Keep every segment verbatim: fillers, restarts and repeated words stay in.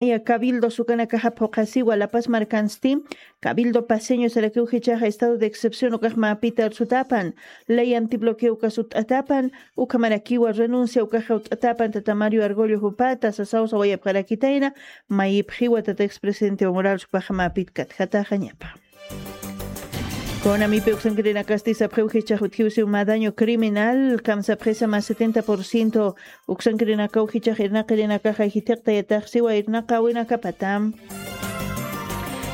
Cabildo sukanakaxa phuqasiwa La Paz markansti, Cabildo Paceño sarakiw jichaxa estado de excepción ukax mapita arsutapan, ley antibloqueo uka sut'atapan, ukhamarakiwa renuncia ukaxa ut'atapan tata Mario Argollo jupata sasaw sawayapxarakitayna, mayipxiwa tata expresidente Evo Morales jupaxa mapit katjataxañapa. Kunamipi uksankirinakasti sapxiw jichax utjiw siw mä daño criminal, kamsapxisa mä setenta por ciento uksankirinakaw jichax irnaqirinakaxa jithiqtayatax siwa irnaqawinakapata.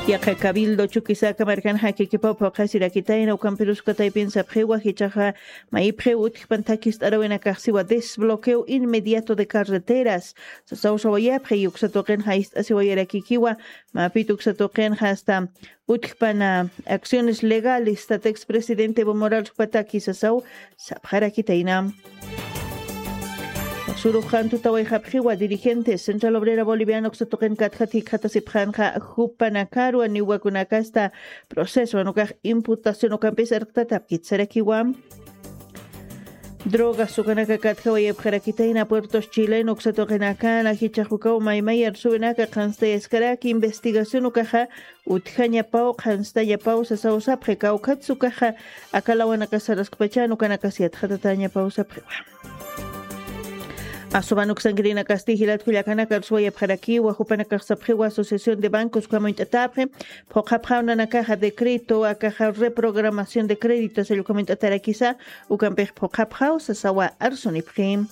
Yaqa Cabildo Chuquisaca markanxa kikipaw phuqasirakitayna ukampirus ukataypin sapxiwa jichaxa mayipxiw utjpan thakist'arawinakax siwa desbloqueo inmediato de carreteras sasaw sawayapxi, uksa tuqinxa ist'asiwayarakikiwa, mapit uksa tuqinxa hasta utjpan acciones legales tata expresidente Evo Morales jupataki sasaw sapxarakitayna. Surux qantutawayxapxiwa dirigentes Central Obrera Boliviana uksa tuqin katjat jikxatasipxanxa jupanakarwa niwakunakasta proceso ukax imputación ukampis arqtatapkit sarakiwa. Drogas ukanaka katjawayapxarakitayna puertos chileno uksa tuqinakana jichax ukaw maymay arsuwinaka qhanstayaskaraki investigación ukaxa utjañapaw qhanstañapaw sasaw sapxi kawkhatsa ukaxa akalawanaka saraskpachan ukanakas yatxatatañapaw sapxiwa. Asuban uksankirinakasti jilat kullakanaka arsuwayapxarakiwa jupanakax sapxiwa asociación de bancos ukamuñt'atapxi phuqhapxaw nanakaxa decreto akaxa reprogramación de crédito sallkumunch'atarakisa ukampix phuqhapxaw sasawa arsunipxi.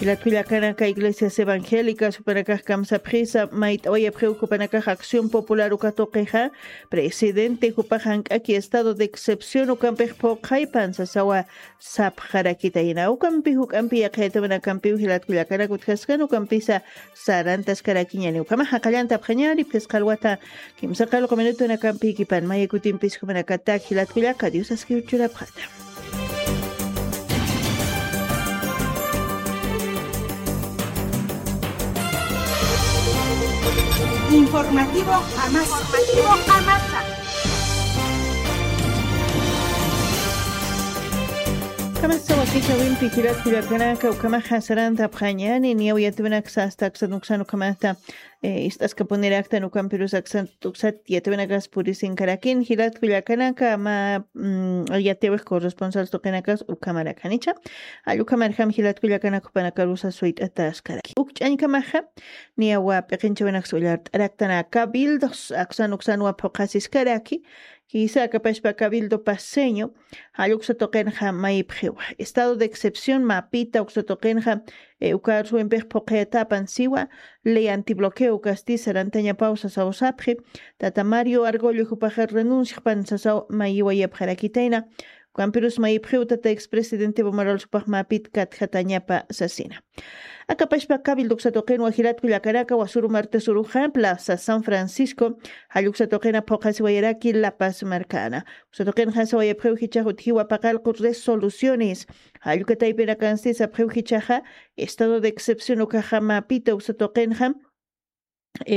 Jilat kullakanaka iglesias evangélicas jupanakax kamsapxisa mayt'awayapxiw jupanakax acción popular uka tuqixa presidente jupax jank'aki estado de excepción ukampix phuqhaypan sasawa sapxarakitayna ukampi juk'ampi yaqhayatawinakampiw jilat kullakanak utjaskan ukampisa sarantaskarakiñani ukhamaxa qallantapxañani phisqa alwata kimsa qalqu minutunakampi ikipan maya kutimpis jumanakatak jilat kullaka dios askiw churapxata. Informativo Amasa. Informativo Amasa. Kamasa wakichawimpi jilat kullakanaka ukhamaxa sarantapxañani niyaw yatawinaksa hasta aksan uksan ukhamata ist'askapuniraktan ukampirus aksan uksat yatawinakas purisinkarakin jilat kullakanaka mä yatawix corresponsal tuqinakas ukhamarakan icha. Allukhamarjam jilat kullakanak jupanakarusa suyt'ataskarakin ukch'añkamaxa niyawa p'iqinchawinaksa ullart'araktanaka bildos aksan uksanwa phuqasiskaraki. Jisa akapashpa cabildo paseño jalluksa tuqinxa mayipxiwa estado de excepción mapita uksa tuqinxa ukarsuwimpix phuqhayatapan siwa ley antibloqueo ukasti sarantañapaw sasaw sapxi. Tata mario argollo jupaxa renunciaxpan sasaw mayiwayapxarakitayna ukampirus mayipxiw tata expresidente evo morales jupax mapit katjatañapa sasina. Akapashpa cabildo uksa tuqinwa jilat kullakanaka wasuru martes uruxa plaza san francisco jalluksa tuqina phuqasiwayaraki la paz markana. Uksa tuqinxa sawayapxiw jichax utjiwa paqallqu resoluciones jallukataypinakansti sapxiw jichaxa estado de excepción ukaxa mapita uksa tuqinxa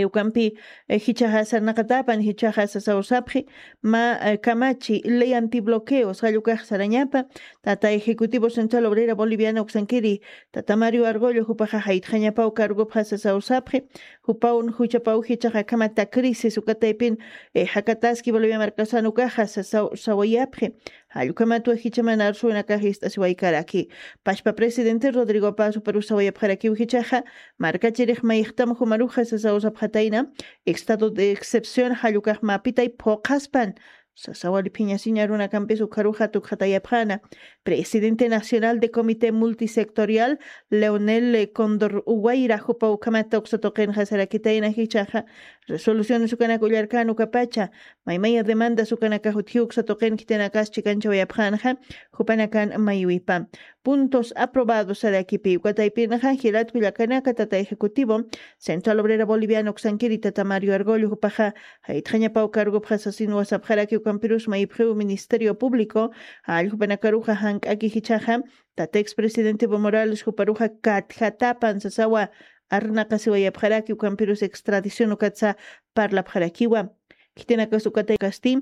ukampi jichaxa sarnaqatapan jichaxa sasaw sapxi mä kamachi ley antibloqueos jallukax sarañapa tata ejecutivo central obrera boliviana uksankiri tata mario argollo jupaxa jaytxañapaw cargopxa sasaw sapxi. Jupawn juchapaw jichaxa kamata crisis ukataypin jakataski bolivia markasan ukaxa sasaw sawayapxi. Jallkamatwa jichaman arsuwinakax ist'asiwaykaraki pashpa presidente rodrigo paz juparus sawayapxarakiw jichaxa markachirix mayixtam jumaruxa sasaw sapxatayna estado de excepción jallukax mapitay phuqhaspan sasawali phiñasiña runakampis ukharuxa tukxatayapxana. Presidente nacional de comité multisectorial leonel condor uwayra jupa ukhamata uksa tuqinxa sarakitayna jichaxa resoluciones ukanak ullarkan ukapacha maymaya demandas ukanakax utjiw uksa tuqin khitinakas chikanchawayapxanxa jupanakan maywipa puntos aprobados sarakipi ukataypinxa jilat kullakanaka tata ejecutivo central obrera boliviana uksankiri tata mario argollo jupaxa jaytxañapaw cargopxa sasinwa sapxaraki ukampirus mayipxiw ministerio público jalljupanakaruxa jank'aki jichaxa tata expresidente evo morales juparuxa katjatapan sasawa arnaqasiwayapxaraki ukampirus extradición ukatsa parlapxarakiwa. Khitinakas ukataykasti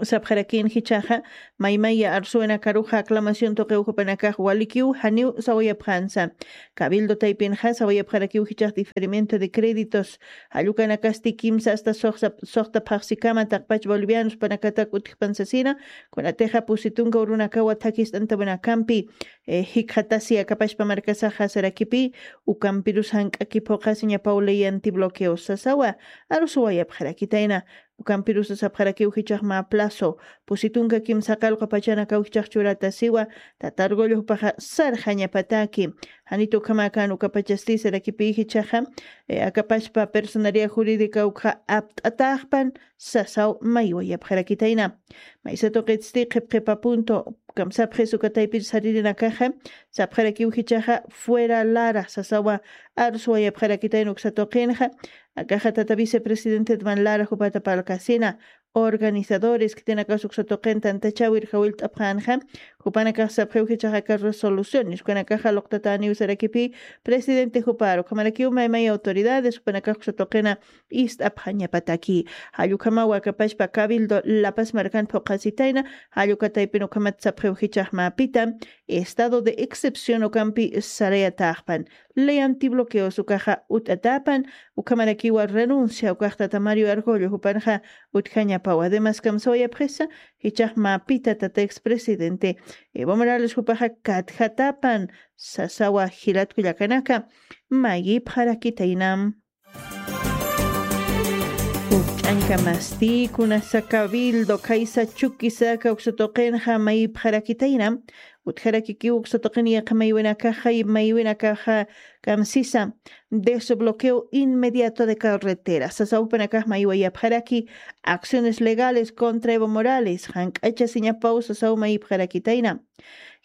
Sapxarakin jichhaxa maymaya arsuwinakaruxa aclamación tuqiw jupanakax walikiw janiw sawayapxansa. Cabildo taypinxa sawayapxarakiw jichhax diferimiento de créditos jallukanakasti kimsa asta suxta phaxsikama taqpach bolivianos panakatak utjpansasina. Kunatixa pusitunka urunakawa thakist'antawinakampi jikxatasi akapashpa markasaxa sarakipi ukampirus jank'aki phuqhasiñapaw ley antibloqueo sasawa. Arsuwayapxarakitayna ukampirusa sapxarakiw jichhax mä plazo pusi tunka kimsa qallqu pachanakaw jichhax churata siwa. Tatargullupaxa sarxañapataki janit ukhamakan ukapachasti sarakipi jichhaxa akapashpa personaria jurídica ukxa apt'ataxpan sasaw maywayapxarakitayna. Maysa tuqitsti qhipqhipa punto kamsapxis ukataypir saririnakaxa sapxarakiw jichhaxa fuera lara sasawa. Arsuwayapxarakitayna uksa tuqinxa akaxa tata vicepresidente edman lara jupata palkasina organizadores khitinakas uksa tuqin tantachawir jawillt'apxanxa. Jupanakax sapxiw jichhaxa aka resoluciones jupanakaxa luqtataniw sarakipi presidente jupar ukhamarakiw maymay autoridades jupanakax uksa tuqina ist'apxañapataki. Jallukamaw akapashpa cabildo lapas markan phuqhasitayna. Jallukataypin ukhamat sapxiw jichhax mapita estado de excepción ukampi sarayataxpan ley antibloqueos ukaxa ut'atapan. Ukhamarakiwa renuncia ukaxtata mario argollo jupanxa utjañapaw además kamsawayapxisa jichhax mapita tata expresidente evo morales jupaxa katjatapan sasawa. Jilatkullakanaka mayipxarakitaynam. Ukch'anka masti kunasa cabildo khaysa chukisaka uksa tuqinxa mayipxarakitayna. Utjarakikiw uksa tuqin yaqha maywinakaxa maywinakaxa kamsisa desbloqueo inmediato de carretera sasawpanakax maywayapxaraki acciones legales contra evo morales jank'achasiñapaw sasaw mayipxarakitayna.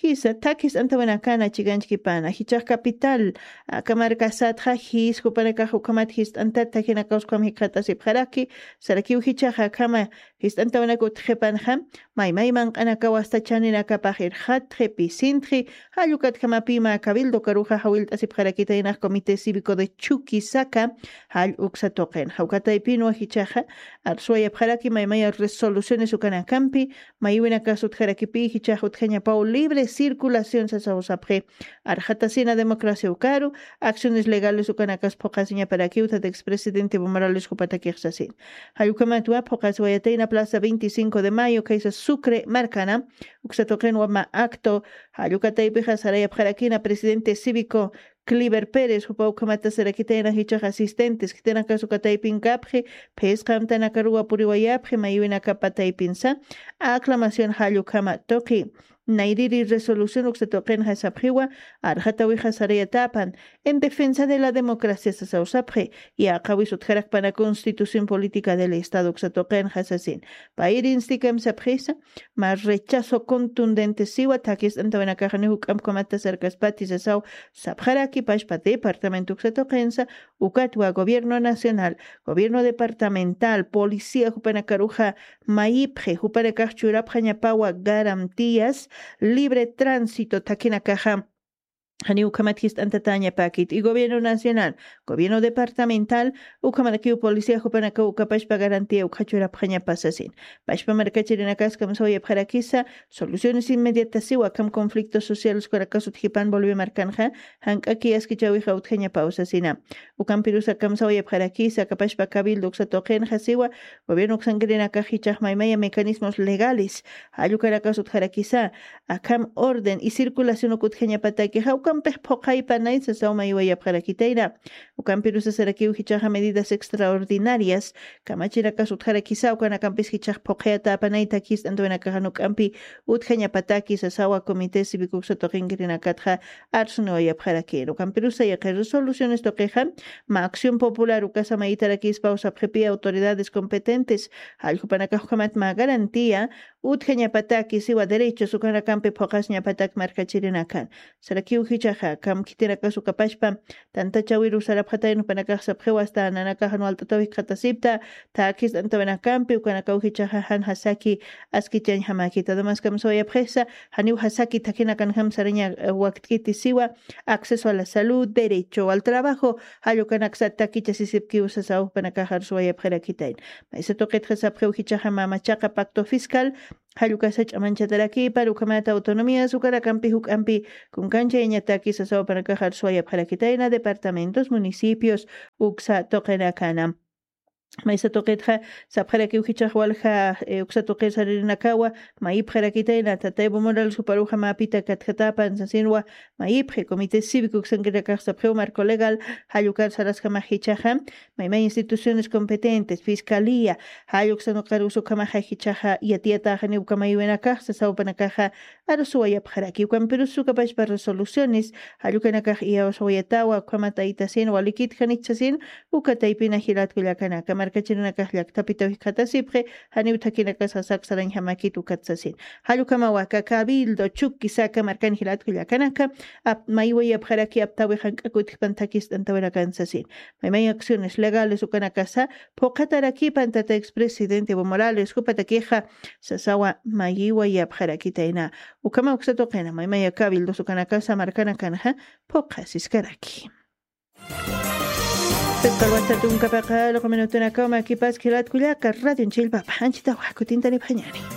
Jisa thakis antawinakana chikanchkipana jichhax capital aka markasatxa jis jupanakax ukhamat jist'antat thakinakaws ukham jikxatasipxaraki. Sarakiw jichhaxa akhama jist'antawinak utjipanxa maymay manq'anakaw asta chaninakapax irxatxi pisintxi. Jallukatjamapima cabildo karuxa jawillt'asipxarakitaynax comité cívico de chukisaka jall uksa tuqinxa ukataypinwa jichhaxa arsuwayapxaraki maymaya resoluciones ukanakampi maywinakas utjarakipi jichhax utjañapaw libre circulación sasaw sapxi. Arxatasina democracia ukaru acciones legales ukanakas phuqhasiñaparakiw tata expresidente evo morales jupatakix sasin. Jallukhamatwa phuqhasiwayatayna plaza veinticinco de mayo khaysa sucre markana uksa tuqinwa mä acto jallukataypixa sarayapxarakina presidente cívico cliver pérez jupa ukhamata sarakitayna jichhax asistentes khitinakas ukataypin kapxi phisqa amtanakaruwa puriwayapxi maywinakapa taypinsa aclamación jallukhama tuqi nayriri resolución uksa tuqinxa sapxiwa. Arxatawixa sarayatapan en defensa de la democracia sasaw sapxi. Yaqhawis utjarakpana constitución política del estado uksa tuqinxa sasin payir instikam sapxisa mä rechazo contundente siwa thakist'antawinakaxani juk'ampkamata sarkaspati sasaw sapxarakipashpa departamento uksa tuqinsa ukatwa gobierno nacional gobierno departamental policía jupanakaruxa mayipxi jupanakax churapxañapawa garantías libre tránsito thakinakaxa janiw ukhamat jist'antatañapakit y gobierno nacional gobierno departamental ukhamarakiw policía jupanakaw ukapashpa garantía ukxachurapxañapasasin. Pashpa markachirinakaskam sawayapxarakisa soluciones inmediatasiwa akham conflictos sociales ukanakasut jipan bolivia markanxa jank'aki askichawixa utjañapawsasina. Ukampirusa kamsawayapxarakisa akapashpa cabildo uksa tuqinxa siwa gobierno uksankirinakax jichhax maymaya mecanismos legales jallukanakas utjarakisa akham orden y circulación ukutjañapatakixa ukampix phuqhaypanay sasaw maywayapxarakitayna. Ukampirusa sarakiw jichhaxa medidas extraordinarias kamachinakas utjarakisa ukanakampis jichhax phuqhayatäpanay thakist'antawinakaxa nuk'ampi utjañapataki sasawa comité cívico uksa tuqinkirinakatxa arsuniwayapxarakïn ukampirusa yaqha resoluciones tuqixa mä acción popular ukasa mayitarakispaw sapxipi autoridades competentes jalljupanakax ukhamat mä garantía utjañapataki siwa derechos ukanakampi phuqhasiñapatak markachirinakan. Sarakiw Jichhaxa kam khitinakas ukapashpa tantachawiru sarapxatayna jupanakax sapxiwa asta nanakaxan walt'ataw jikxatasipta. Takis t'antawinakampi ukanakaw jichhaxa jan jasaki askichañjamakita además kamsawayapxisa janiw jasaki thakinakanjam saraña. Wakt'kiti siwa acceso a la salud, derecho al trabajo, jall ukanaksa takichasisipkiw sasaw jupanakax arsuwayapxarakitayna. Maysa tuqitxa sapxiw jichhaxa mamachaqa pacto fiscal jall ukasa ch'amanchatarakipar ukhamata autonomías ukanakampi juk'ampi kunkanchayañataki sasaw jupanakax arsuwayapxarakitayna departamentos municipios uksa tuqinakana. Maysa tuqitxa sapxarakiw jichhax walja uksa tuqir saririnakawa mayipxarakitayna tataybu morales juparuxa mapita katjatapan sasinwa. Mayipxi comité cívico uksankinakax sapxiw marco legal jall ukar sarasjamax jichhaxa maymay instituciones competentes fiscalía jall uksanuqarus ukhamaxa jichhaxa yatiyataxani uka maywinakax sasaw jupanakaxa arsuwayapxaraki ukampirus ukapashpa resoluciones jall ukanakax iyawsawayatawa ukhamat aytasin walikitjanichhasin. Uka taypina jilatkullakanaka markachirinakax llaktapitaw jikxatasipxi janiw thakinakas sasaksarañjamakit ukat sasin. Jall ukhamawa aka cabildo chukisaka markan jilatkullakanaka maywayapxaraki aptawi jank'akutjpan thakis t'antawinakan sasin. Maymay acciones legales ukanakasa phuqhatarakipan tata expresidente evo morales jupatakixa sasawa mayiwayapxarakitayna. Ukhama uksa tuqina maymaya cabildos ukanakasa markanakanxa phuqhasiskaraki. Pipqalwasta tunkapaqa luqu minutunakaw makipas khilatkullaka radion chillpapa anchitawa kutintanipxañani.